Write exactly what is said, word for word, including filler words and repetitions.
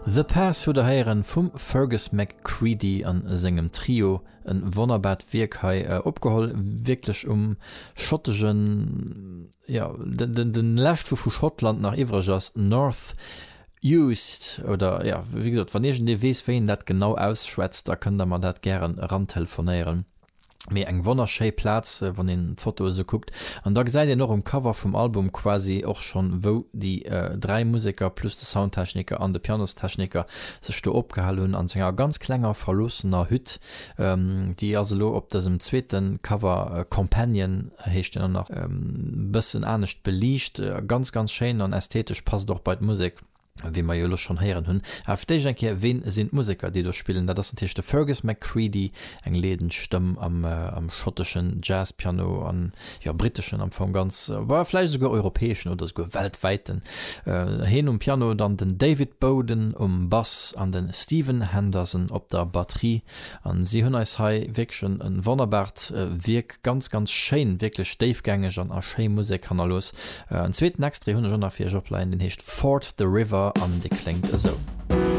The Pass hutt der héieren vum Fergus McCreadie an sengem Trio. En wonnerbart Wierk hei opgeholl, wierklech um schottegen, jo, den den den lescht wou vu Schottland nach iwwreg ass, North Uist oder, jo, wéi gesot, wann iergendee weess wéi een dat genau ausschwätzt, da kënnt der mer dat gären erantelefonéieren. Mee eng wonnerschéi Plaz, wann een d'Foto esou kuckt. An da gesäit een och um Cover vum Album quasi och schonn, wou déi dräi Museker plus de Soundtechniker an de Pianostechniker sech do opgehal hunn, an esou enger ganz klenger verloossener Hütt. Déi ass elo op dësem zweete Cover, Companion heescht deen och nach, e bëssen anescht beliicht. Ganz, ganz schéin an ästhetesch, passt och bei d'Musek. Wéi mer jo elo schonn héieren hunn. Awer fir d'éischt eng Kéier, Ween sinn d'Museker, déi do spillen? Dat ass natierlech de Fergus McCreadie, eng leedend Stëmm am am schotteschen Jazzpiano an, jo, britteschen am Fong ganz, bah, vläicht esouguer europäeschen oder esouguer weltwäiten. Heen um Piano, dann den David Bowden um Bass an de Stephen Henderson op der Batterie. An si hunn eis hei wierklech en e wonnerbart Wierk, ganz, ganz schéin, wierklech déifgängeg an a schéi Musek hannerlooss. En zweeten Extrait hunn ech och nach fir iech opleien, deen heescht Ford the River an dee kléngt esou.